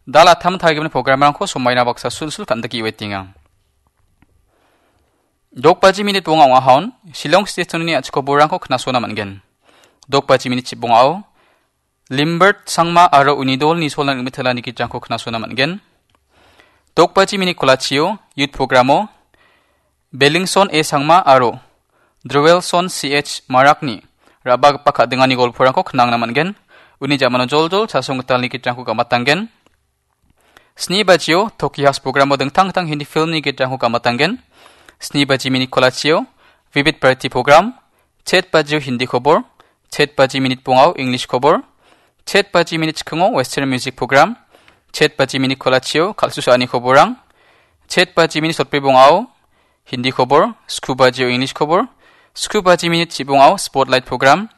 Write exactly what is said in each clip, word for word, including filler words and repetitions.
Dal attam tarigimin programrangko somaina baksa sulsul kan·dike uetenga. Dok baji minit bonga ong·ahon, Shillong State-oni a·chik koborrangko knasona man·gen. Dok baji minit chibongao, Limbert Sangma aro uni dolni solan rimitelani gitrangko knasona man·gen. Dok baji minit kolachio, youth programo, Belingson A Sangma aro Drewelson C H Marakni ra·bagipa ka·dingani golporangko knangna man·gen. Uni jamano joljol chasong gitalni gitrangko gamatanggen. Sni bajio Toki House programo dingtang dingtang Hindi filmni gitrangko gamatanggen. Sni baji minit kolachio Vivid Bharati program, chet bajio Hindi khobor, chet baji minit bongao English khobor, chet baji minit chikingo Western music program, chet baji minit kolachio kal·susaani koborrang, chet baji minit sotbri bongao Hindi khobor, sku bajio English khobor, sku baji minit chibongao Spotlight program,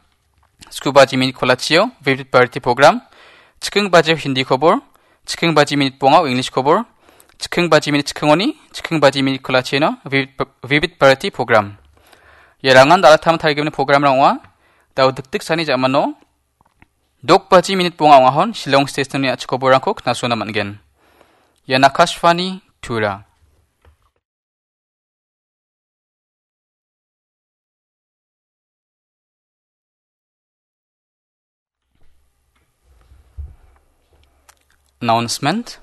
sku baji minit kolachio Vivid Bharati program, chiking bajio Hindi khobor, chiking baji minit bongao English khobor, chiking baji minit chikingoni, chiking baji minit kolachino Vivid, Vivid Bharati program. Ia rangan dal attam tarigimin programrang ong·a. Dao dikdiksani jamano dok baji minit bonga ong·ahon Shillong State-oni a·chik koborrangko knasona man·gen. Ian Akashvani Tura. Announcement.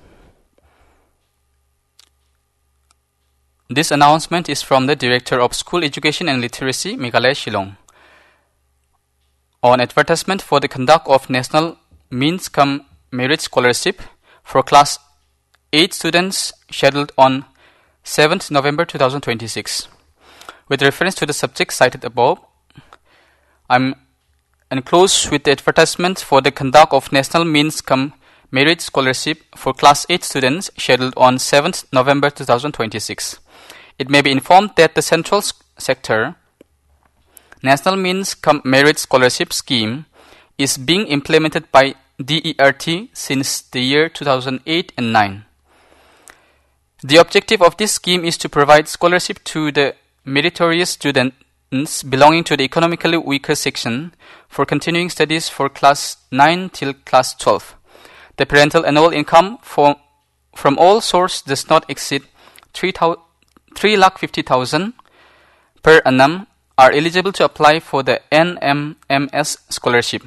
This announcement is from the Director of School Education and Literacy, Meghalaya Shillong. On advertisement for the conduct of National Means cum Merit Scholarship for Class eight students scheduled on seventh November two thousand twenty-six. With reference to the subject cited above, I'm enclosed with the advertisement for the conduct of National Means cum Merit Scholarship for Class eight students scheduled on seventh November two thousand twenty-six. It may be informed that the central s-, sector National Means cum Merit Scholarship Scheme is being implemented by D E R T since the year two thousand eight and nine. The objective of this scheme is to provide scholarship to the meritorious students belonging to the economically weaker section for continuing studies for class nine till class twelve. The parental annual income for from all source does not exceed three thou-, three lakh fifty thousand per annum are eligible to apply for the N M M S scholarship.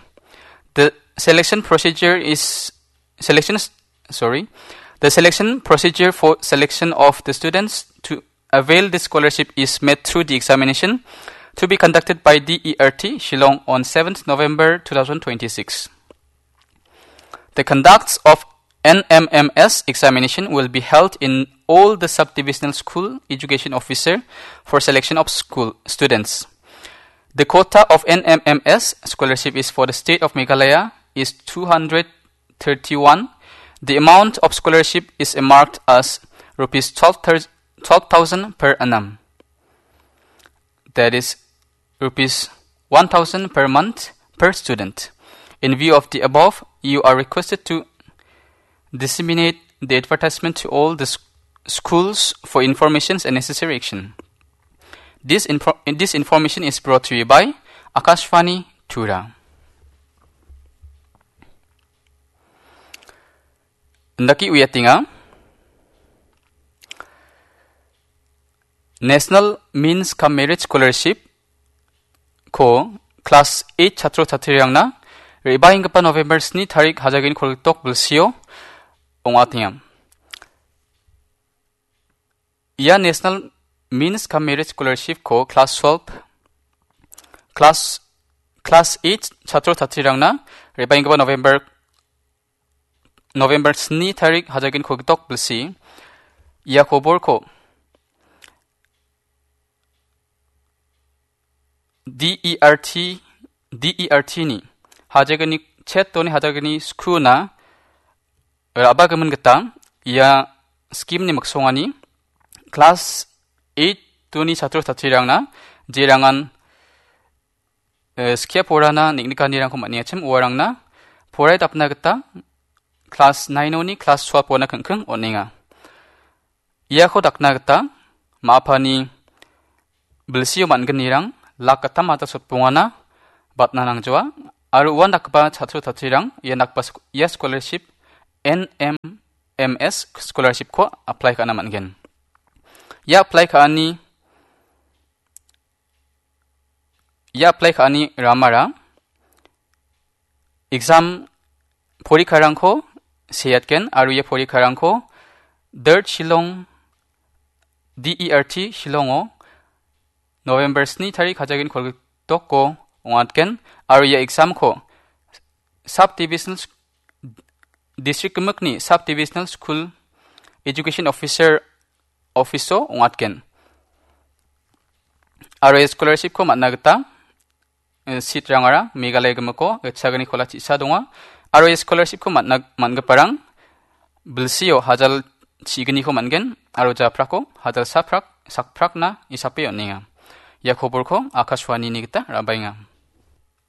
The selection procedure is, selection, sorry, the selection procedure for selection of the students to avail this scholarship is made through the examination to be conducted by D E R T Shillong on seventh November two thousand twenty-six. The conducts of N M M S examination will be held in all the sub-divisional school education officer for selection of school students. The quota of N M M S scholarship is for the state of Meghalaya is two hundred thirty-one. The amount of scholarship is earmarked as rupees twelve thou-, twelve thousand per annum. That is rupees one thousand per month per student. In view of the above, you are requested to disseminate the advertisement to all the s-, schools for informations and necessary action. This info-, this information is brought to you by Akashvani Tura. Indaki uiatenga. National Means cum Merit Scholarship ko class eight chatro chatrirangna re·baenggipa November sni tarik hajagen kolgitok bilsio ong·atenga. Ia National Means cum Merit Scholarship ko class twelve, class, class eight chatro chatrirangna re·baenggipa November, November sni tarik hajagen kolgitok bilsi ia koborko D E R T, D E R T ni hajagni chet doni hajagni skuna ra·bagimin gita ia scheme-ni miksongani class eight doni chatro chatrirangna jerangan, eh, skia porana neng·nikanirangko man·engachim uarangna poraidapna gita class nine-oni class twelve-ona keng·keng on·enga. Iako dakna gita ma·apani bilsio man·gnirang lak gittam atal sotbongana batna nangjoa aro uan dakgipa chatro chatrirang ia dakgipa sk-, ia scholarship N M M S scholarship-ko apply ka·na man·gen. Ia apply ka·ani, ia apply ka·ani ramara exam porikarangko seatgen aro ia porikarangko D E R T Shillong, D E R T Shillongo November sni tarik hajagin kolgitoko ong·atgen aro ia exam-ko sub divisional s-, district gimikni sub divisional school education officer office-o ong·atgen. Aro ia scholarship-ko man·na gita, eh, seat-rangara Meghalaya gimiko gitchagni kola chisa donga. Aro ia scholarship-ko man·na, man·giparang bilsio hajal chigniko man·gen aro japrako hajal saprak, sakprakna isape on·enga. Ia koborko Akashwanini gita ra·baenga.